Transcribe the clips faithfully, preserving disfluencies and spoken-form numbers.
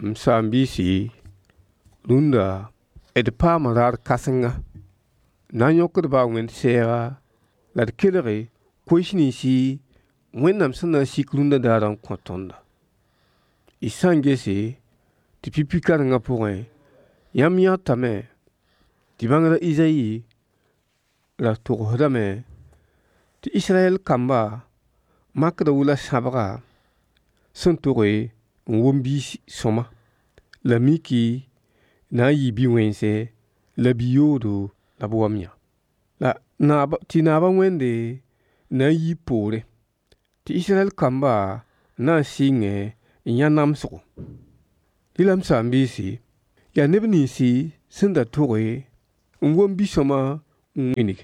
M saam-biisi, rũndã d paama raar kãsenga na n yõkd-ba a Wẽnd sɛɛga la d kelge koees ninsi Wẽnnaam sẽn na n sik rũndã daarã n kõ tõnda. Y sã n gese tɩ pipi kãrengã pʋgẽ, yãmb yãtame tɩ bãngrã Izayi ra togsdame tɩ Israyɛl kamba makda wʋla sãbga sẽn toge n wom biis sõma, la miki na n yɩ bi-wẽnse la bi-yoodo la b wam yã. La naab tɩ naaba Wẽnde na n yi poorẽ, tɩ Israyɛl kamba na n sɩngẽ n yã namsgo. Rɩla m saam-biisi, yaa neb ninsi sẽn da toge n wom bi-sõama n wilg.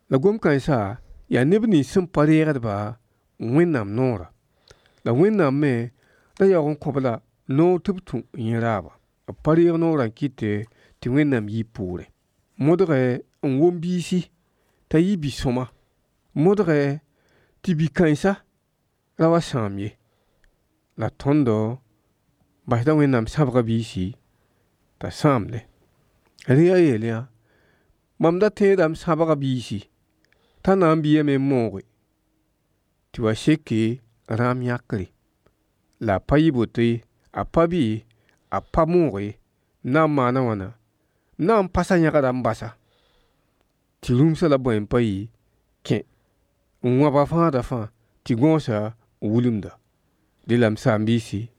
La gom-kãensã yaa neb nins sẽn pa reegdba Wẽnnaam noorã. La Wẽnnaam me ra yaoog n kõ-b la noor tɩ b tũ yẽ raaba. B pa reeg noorã n kɩte tɩ Wẽnnaam yi poorẽ. Modgɛ n wom biisi t'a yɩ bi-sõama, modgɛ tɩ bi-kãensã ra wa sãam ye. La tõndo basda Wẽnnaam sãbga biisi t'a sãamdẽ. Rẽ yaa yeel yã, mam da tẽeda m sãbga biisi t'a na n biame n mooge tɩ wa seke rãam yãkre. La a pa yɩ boto ye, a pa bɩ, a pa moog ye. M na n maana wãna? M na n pasa yãgrã n basa tɩ rũmsã la bõe n pa yɩ kẽ n wãba fãada fãa tɩ gõosã wilmda. Dẽla m saam-biisi,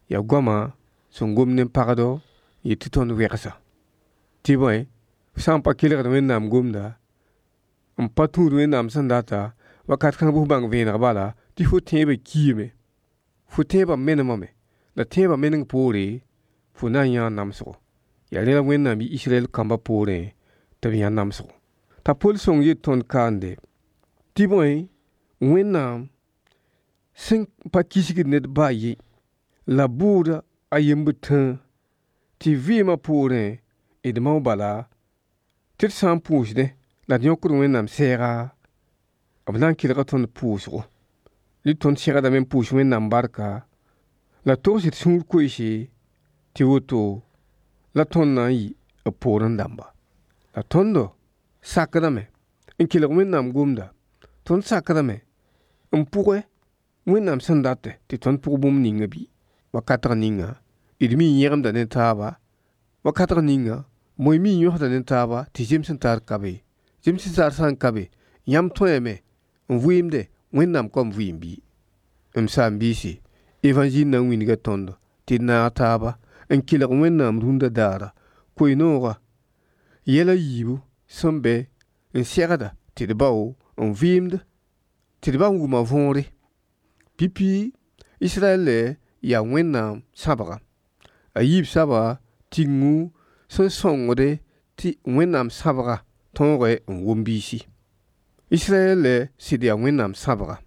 yaa goamã sẽn gom ne pagdo n yet tɩ tõnd wegsa. Tɩ bõe, f sã n pa kelgd Wẽnnaam gomda, n pa tũud Wẽnnaam sẽn data, wakat kãng bɩ f bãng vẽeneg bala tɩ fo tẽebã kiime, fo tẽebã menemame, la tẽebã meneng poore fo na n yãa namsgo. Yaa rẽ la Wẽnnaam yi Israyɛl kambã poorẽ tɩ b yã namsgo. T'a Pol sõng yet tõnd kaande tɩ bõe, Wẽnnaam sẽn pa kisgd ned ba a ye la bʋʋda a yembd tãa tɩ vɩɩmã poorẽ d mao bala tɩ d sã n pʋʋsdẽ la d yõkd Wẽnnaam sɛɛga, b na n kelga tõnd pʋʋsgo. Rɩ tõnd segdame n pʋʋs Wẽnnaam barka la togs d sũur koeese tɩ woto la tõnd na n yɩ b poorẽ dãmba. La tõndo sakdame n kelg Wẽnnaam gomda, tõnd sakdame n pʋgɛ Wẽnnaam sẽn datɛ tɩ tõnd pʋg bũmb ninga bɩ. Wakatg ninga d mi n yẽgemda ne taaba, wakatg ninga moe mi n yõsda ne taaba tɩ zems n taar ka be. Zems n taar sã n ka be, yãmb tõeeme n vɩɩmde Wẽnnaam kom vɩɩm bɩ. M saam-biisi, évangile na n wilga tõndo tɩ d naag taaba n kelg Wẽnnaam rũndã daara koe-nooga yɛl a yiibu sẽn be n segda tɩ d bao n vɩɩmd tɩ d ba n wʋma võore. Pipi Israyɛl yaa Wẽnnaam sãbga. A yiib saba tigengẽ sẽn sõngde tɩ Wẽnnaam sãbga tõogẽ n wom biisi. Israyɛl sɩd yaa Wẽnnaam sãbga,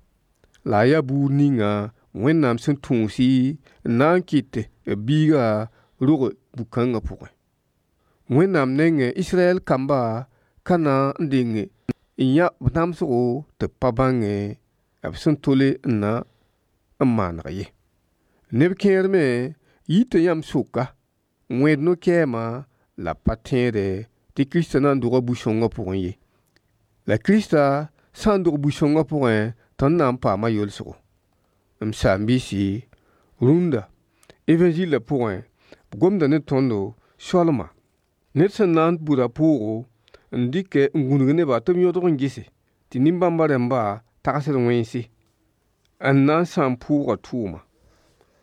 la a yaa buud ninga Wẽnnaam sẽn tũusi n na n kɩt b biiga rog bu-kãngã pʋgẽ. Wẽnnaam nengẽ Israyɛl kamba ka na n deng n yã b namsgo tɩ b pa bãngẽ b sẽn tole n na n maaneg ye. Neb kẽer me yita yãmb sʋka n wẽed no-kɛɛma la b pa tẽede tɩ Kiristã na n doga bu-sõngã pʋgẽ ye. La Kiristã sã n dog bu-sõngã pʋgẽ, tõnd na n paama yolsgo. M saam-biisi, rũndã évangilã pʋgẽ b gomda ne tõndo soalma. Ned sẽn na n bʋda pʋʋgo n dɩkɛ n gũnug nebã tɩ b yõdg n gese tɩ nin-bãmbã rãmbã tagsd wẽnse n na n sãam pʋʋgã tʋʋma,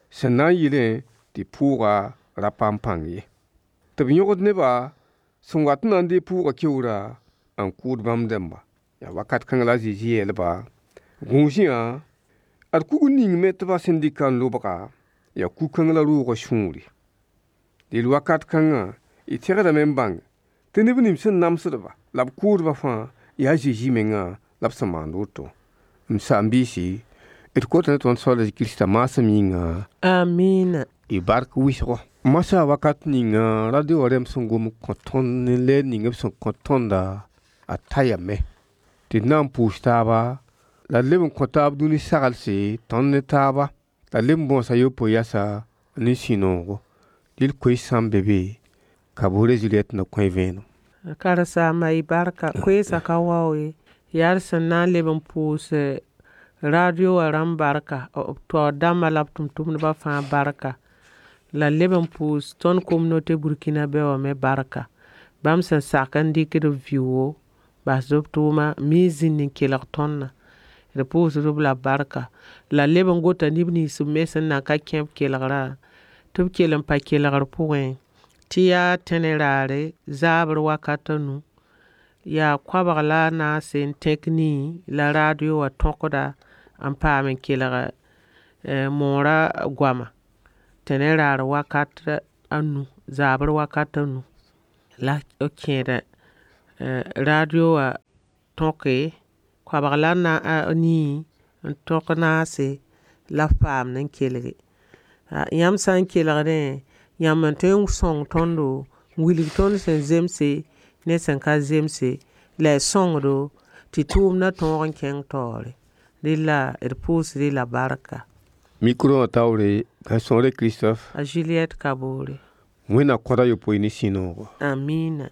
sẽn na n yɩlẽ tɩ pʋʋga ra paam pãng ye. Tɩ b yõgd nebã sẽn wat n na n deeg pʋʋgã keoora n kʋʋd bãmb dãmba. Yaa wakat kãng la a Zezi yeelba: Gũus-yã, ad kug ning me tɩ ba sẽn dɩka n lobga, yaa kug-kãng la roogã sũuri. Deel wakat kãngã y tẽgdame n bãng tɩ neb nins sẽn namsdba la b kʋʋdba fãa yaa a Zezi mengã la b sẽn maand woto. M saam-biisi, d kota ne tõnd Soaal a Kiristã maasem yĩnga. Amina. Y bark wɩsgo. Masã wakat ninga radio wã rãmb sẽn gom n kõ tõnd ne lɛɛr ning b sẽn kõ tõnda a tayame tɩ d na n pʋʋs taaba la d leb n kõ taab dũni saglse tõnd ne taaba la d leb n bõosa yopoe yasa ne sũ-noogo. Dɩl koees sã n be be, Kabore Juliette na kõ y vẽenem. Karen-saamba y barka. Koeesã ka wao ye. Yaa d sẽn na n leb n pʋʋs radio wã rãmb barka, b taoor dãmbã la b tʋm-tʋmdbã fãa barka. La d leb n pʋʋs tõnd communauté burkinabé wã me barka. Bãmb sẽn sak n dɩkd b vɩʋʋgo basd b tʋʋma n miis zĩnd n kelg tõndã. D pʋʋsd-b la barka. La d leb n gota neb nins me sẽn nan ka kẽ b kelgrã tɩ b kell n pa kelgr pʋgẽ tɩ yaa tẽne raare zaabr wakat a nu. Yaa koabg la a naase n tẽk nii la radio wã tõkda n paam n kelg moorã goama tẽne raar wakat a nu, zaabr wakat a nu. La b kẽeda radio wã tõke, koabg la a nii n tõk naase la b paamd n kelge. Yãmb sã n kelgdẽ, yãmb n tõe n sõng tõndo n wilg tõnd sẽn zemse ne sẽn ka zemse, la y sõngdo tɩ tʋʋmdã tõog n kẽng taoore. Rẽ la d pʋʋsd-y la barka. Micro wã taoore, Gãe-sõore Christophe. A Juliette Kabore. Wẽnna kõt a yopoe ne sũ-noogo. Amina.